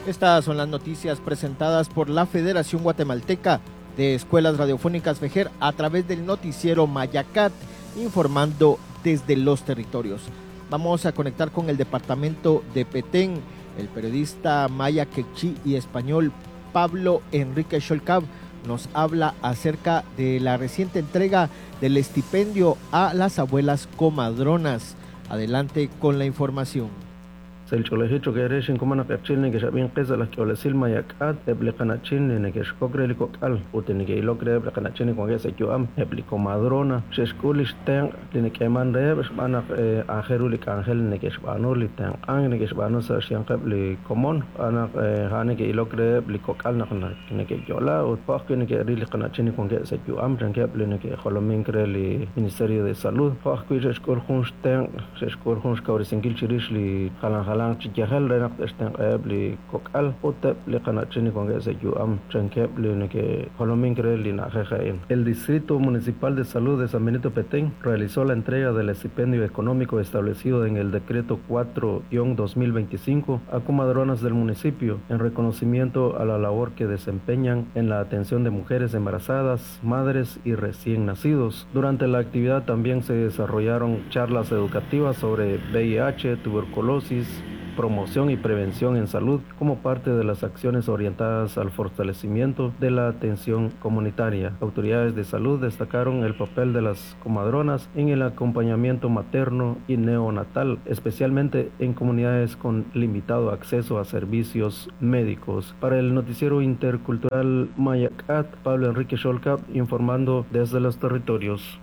Estas son las noticias presentadas por la Federación Guatemalteca de Escuelas Radiofónicas FEJER a través del noticiero Mayacat, informando desde los territorios. Vamos a conectar con el departamento de Petén. El periodista maya quechí y español Pablo Enrique Xolcab nos habla acerca de la reciente entrega del estipendio a las abuelas comadronas. Adelante con la información. Sa' li ch'oolejil choq' eere xinkomon naq q'eqchi' neke'xab'in qe sa' laj k'iolesil mayak'at eb' li qana'chin li neke'xkok re li kok'al ut li neke'ilok reheb' li qana'chin li wankeb' sa' yu'am eb' li comadrona xe'xk'ul li xtenq' li nek'eeman reheb' xb'aan naq aajel ru li k'anjel li neke'xb'aanu li tenq'ank neke'xb'aanu sa' xyanqeb' li komon xb'aan naq a'an neke'ilok reheb' li kok'al naq neke'yo'la ut jo' ajwi' neke'ril li qana'chin li wankeb' sa' yu'am chankeb' li neke'jolomink re li Ministerio de Salud jo' ajwi' xe'xk'ul jun xtenq' xe'xk'ul jun xkawresinkil chirix li jalan jalan chi yajel re naq te'xtenq'aheb' li kok'al ut eb' li qana'chin li wankeb' sa' yu'am chankeb' li neke'jolomink re li na'ajej a'in. El Distrito Municipal de Salud de San Benito Petén realizó la entrega del estipendio económico establecido en el Decreto 4-2025 a comadronas del municipio en reconocimiento a la labor que desempeñan en la atención de mujeres embarazadas, madres y recién nacidos. Durante la actividad también se desarrollaron charlas educativas sobre VIH, tuberculosis, promoción y prevención en salud como parte de las acciones orientadas al fortalecimiento de la atención comunitaria. Autoridades de salud destacaron el papel de las comadronas en el acompañamiento materno y neonatal, especialmente en comunidades con limitado acceso a servicios médicos. Para el noticiero intercultural Mayacat, Pablo Enrique Xolcab informando desde los territorios.